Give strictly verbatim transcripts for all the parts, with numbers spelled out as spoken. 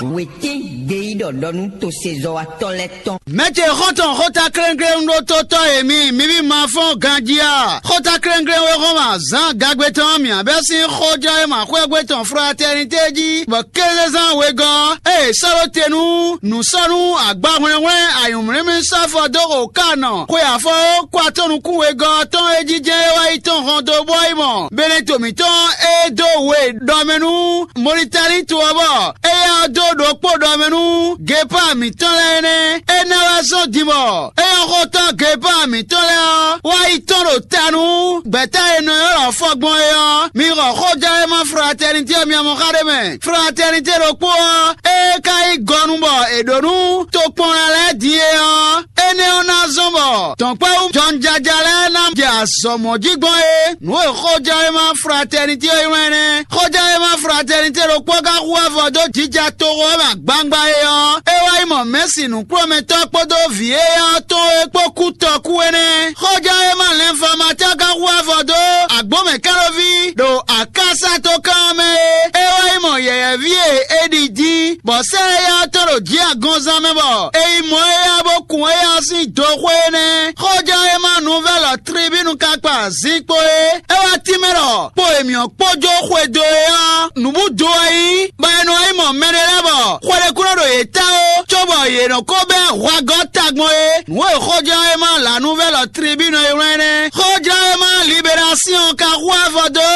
Wětín gbeyíɖɔ ɖɔ nú tosezɔ́watɔ́ lɛ́ɛ tɔn. Mɛ̌ ce xɔ́ntɔn xóta kléŋkléŋ ɖó tótɔ́ e mi, mi ví ma fɔ́n ganjí a? Xóta kléŋkléŋ wé xɔ́n ma zǎn gagbe tɔn mǐ abɛ́ sín xójɔ́ e ma xwé gbé tɔn fratɛ́nitɛ́ jí, bɔ kézezán wegɔ́ ée è sɔ́ ɖó te nú nǔ sɔ́ nú agbahwlɛ́nhwlɛ́n anyǔmlímlí sɔ́ fɔ dó xo ká nɔ xwe afɔ e kó atɔ́ nukún wegɔ́ ɔ́ tɔn e jijɛ é wá yi tɔn hɔn dó bɔ yi mɔ Beneto mǐtɔn e dó we ɖɔ mɛ nú Molitáni to ɔ́ bɔ éyɛ́ ɔ́ dó ɖokpó ɖɔ mɛ nú Gepaa mǐtɔn lɛ́ɛ nɛ́. Énɛ́ wɛ zɔ́n din bɔ éyɔ́xótɔ́ Gepaa mǐtɔn lɛ́ɛ ɔ́ wá yi tɔ́n ɖo ta nú gbɛ̌ta e nɔ ylɔ́ fɔ gbɔn é ɔ́. Mi xɔ xójɛ́wéma fratɛnitɛ́ ɔ́ mi mɔ xá ɖé mɛ. Fratɛnitɛ́ ɖokpó ɔ́, ée ka yí gɔnu bɔ è ɖǒ nú tokpɔnla lɛ́ɛ din é ɔ́, énɛ́ ɔ́ ná zɔ́n bɔ dɔ̌nkpɛ́wú jɔnjaja lɛ́ɛ ná jɛ azɔ̌ mɔ̌ jí gbɔn é. Nǔ e xójɛ́wéma fratɛnitɛ́ ɔ́ ylɔ́n ɛnɛ́. Xójɛ́wéma fratɛnitɛ́ ɖokpó ka hu avɔ dó jija toxo ɔ́ mɛ agbangba é ɔ́, é wá yi mɔ Mɛ̌si nǔkplɔ́nmɛtɔ́ kpódó vǐ éyɛ́ ɔ́ tɔn é kpó kú tɔkú énɛ́. Xójɛ́wéma lɛnfamatɛ́ ka hu avɔ dó agbǒmɛkánɔví ɖo akásatokán ɔ́ mɛ é. É wá yi mɔ yɛ̌yɛ́ví e è ɖi dín, bɔ sɛ́ éyɛ́ ɔ́ tɔn ɖo jǐ agɔnzán mɛ bɔ è yi mɔ éyɛ́ ɔ́ bó kun éyɛ́ ɔ́ sín doxwé énɛ́. Xójɛ́wéma nuvɛ́lɔ Tribínu ka kpa zinkpo é. É wá tínmɛ ɖɔ kpo e mǐ ɔ́ kpó jó xwedó é ɔ́, nǔbúdo wɛ nyí, bɔ è nɔ yi mɔ mɛɖé lɛ́ɛ bɔ xwe ɖé kún nɔ ɖo yě ta ó, cóbɔ yě nɔ ko bɛ́ hwagɔ́ tagbɔn é. Nǔ e xójlɔ́nwéma lǎnúvɛ́lɔ Tribínu e wlán é nɛ́. Xójlɔ́nwéma Liberasíɔn ka hu avɔ dó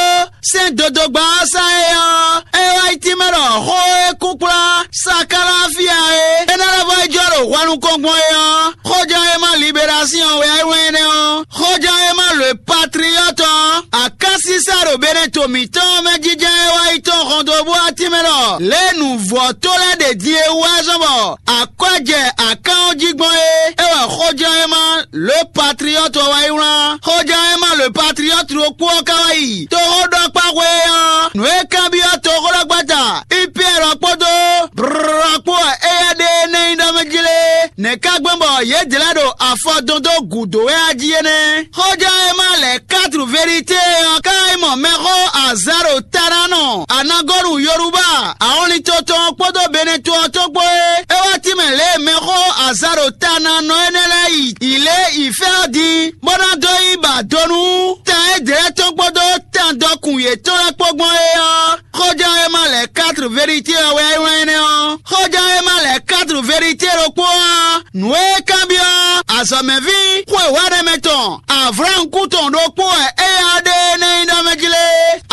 sɛ́n dodogba ɔ́ sá é ɔ́, é wá yi tínmɛ ɖɔ xó e kúkplá Sakalafia é, é ná lɛ́ vɔ yi jɔ ɖo hwɛ nukɔn gbɔn é ɔ́, xójlɔ́nwéma Liberasíɔn wɛ é wlán énɛ́ ɔ́. Xójlɔ́nwéma lǒ e patliyɔ́tɔ ɔ́, akásísá ɖo Beneto mǐtɔn ɔ́ mɛ jínjɔ́n é wá yi tɔ́n hɔn dó bú atín mɛ ɖɔ lě e nǔvɔ́ tó lɛ́ɛ ɖe din e wú wɛ zɔ́n bɔ akwɛ́ jɛ akán ɔ́ jí gbɔn é, é wɛ xójlɔ́nwéma lǒ e patliyɔ́tɔ ɔ́ wá yi wlán. Xójlɔ́nwéma lǒ e patliyɔ́tɔ ɖokpó ɔ́ ka wá yi toxóɖɔkpáxwé ɔ́, nǔ e kanbyɔ́ toxóɖɔgbata Ipiyɛ́ɛ kpódó brɔ̌ kpó wɛ éyɛ́ ɖe énɛ́ nyí ɖɔ mɛ jí lé. Nɛ̌ ka gbɛ́n bɔ yědɛɛ lɛ́ɛ ɖo afɔ dɔn dó gǔdo wɛ a jí é nɛ́? Xójlɔ́nwéma lɛ̌ quatre vérité ɔ́ ka yi mɔ mɛxó Azaro Tananɔ, Anagɔnu Yoruba, ahɔnlin tɔn tɔn kpódó Beneto ɔ́ tɔn kpó é. É wá tínmɛ lě e mɛxó Azaro Tananɔ énɛ́ lɛ́ɛ yi yi lě yi fɛ́ ɔ́ din, bó ná dó yi ba do nú tan édɛɛ tɔn kpódó tan dɔkun yětɔn lɛ́ɛ kpó gbɔn é ɔ́. Xójlɔ́nwéma lɛ̌ quatre vérité ɔ́ wɛ é wlán énɛ́ ɔ́. Xójlɔ́nwéma lɛ̌ quatre vérité ɖokpó ɔ́, nǔ e kanbyɔ́ azɔ̌mɛví xwe wɛ̌nɛmɛ tɔn Avláamu kú tɔn ɖokpó wɛ éyɛ́ ɖe énɛ́ nyí ɖɔ mɛ jí lé.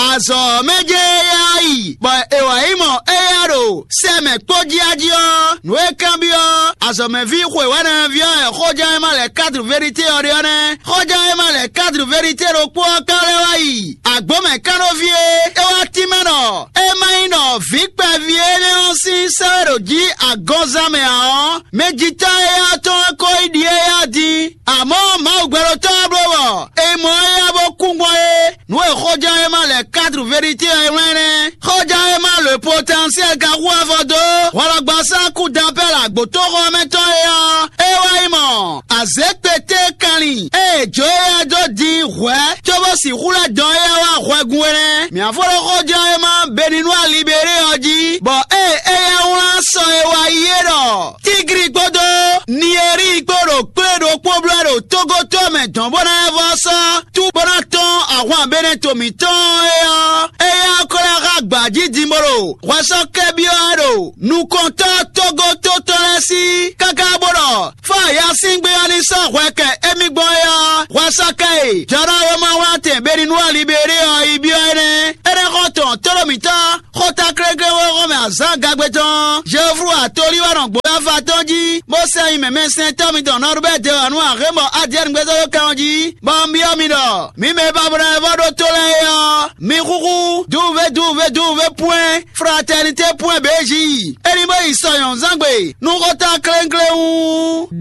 Azɔ̌ mɛ jɛ éyɛ́ yi, bɔ è wǎ yi mɔ éyɛ́ ɖo sɛ mɛ kpó jí a jí ɔ́, nǔ e kanbyɔ́ azɔ̌mɛví xwe wɛ̌nɛmɛví ɔ́ wɛ xójlɔ́nwéma lɛ̌ quatre vérité ɔ́ ɖe ɔ́ nɛ́. Xójlɔ́nwéma lɛ̌ quatre vérité ɖokpó ɔ́ ka lɛ́ wá yi agbǒmɛ kánɖóví e é wá tínmɛ ɖɔ é má nyí ɖɔ vǐ kpɛví énɛ́ ɔ́ sín sɛ́ wɛ ɖo jí agɔnzán mɛ ǎ ɔ́, mɛjitɔ́ éyɛ́ tɔn wɛ ko yi ɖi éyɛ́ din. Amɔ̌ Mawu gbɛɖotɔ́ ɔ́ bló bɔ è mɔ éyɛ́ bó kú gbɔn é. Nǔ e xójlɔ́nwéma lɛ̌ quatre vérité ɔ́ é wlán nɛ́. Xójlɔ́nwéma le potentiel ka hu avɔ dó hwɛɖɔgbasá kú dapɛ́ ɖo agbǒtóxɔ ɔ́ mɛ tɔn é ɔ́, é wá yi mɔ azěkpété kanlin e è jó éyɛ́ dó din hwɛ̌ cóbó sixú lɛ́ dɔn éyɛ́ wá hwɛgun é nɛ́. Mǐ á fó ɖó xójlɔ́nwéma Beninu Alibéré ɔ́ jí, bɔ ée éyɛ́ wlán sɔ e wá yi é ɖɔ Tígri kpódó Nieri kpó ɖo kplé ɖokpó bló ɖo tógótɔ́ mɛ dɔn bó ná vɔ sɔ́ tú bó ná tɔ́n ahwan Beneto mǐtɔn é ɔ́, éyɛ́ ɔ́ ko lɛ́ xá gbǎ jí din bó ɖo hwɛsɔ́kɛ́byɔ́ wɛ ɖo nukɔntɔ́ tógótɔ́ tɔn lɛ́ɛ sí káká bó ɖɔ fá Yasíngbe ɔ́ ní sɔ́ hwɛ kɛ émí gbɔn é ɔ́, hwɛsɔ́kɛ e jɔ̌nɔwéma wlán tɛn Beninu Alibéré ɔ́ yi byɔ́ énɛ́. Énɛ́ xɔ tɔn tlóló mǐtɔn xóta kléklé wóxɔ mɛ azǎn gagbe tɔn Jeoflu atolí wɛ nɔ gbǒ afa tɔn jí, bó sɛ nyi mɛmɛsɛntɔ́ mitɔn Nɔrubɛ́ Dewanu Axémɔ Adiɛ́ni gbézɔ́ dó kan ɔ́ jí, bɔ un byɔ́ mi ɖɔ mi mɛ e ba bo ná vɔ ɖó tó lɛ́ɛ é ɔ́, mi xúxú duwuvé duwuvé duwuvé pwɛ́n fratɛnitɛ́ pwɛ́n bějí. É ní bó yi sɔ nyɔ̌nuzángbe nú xóta klénkléwún.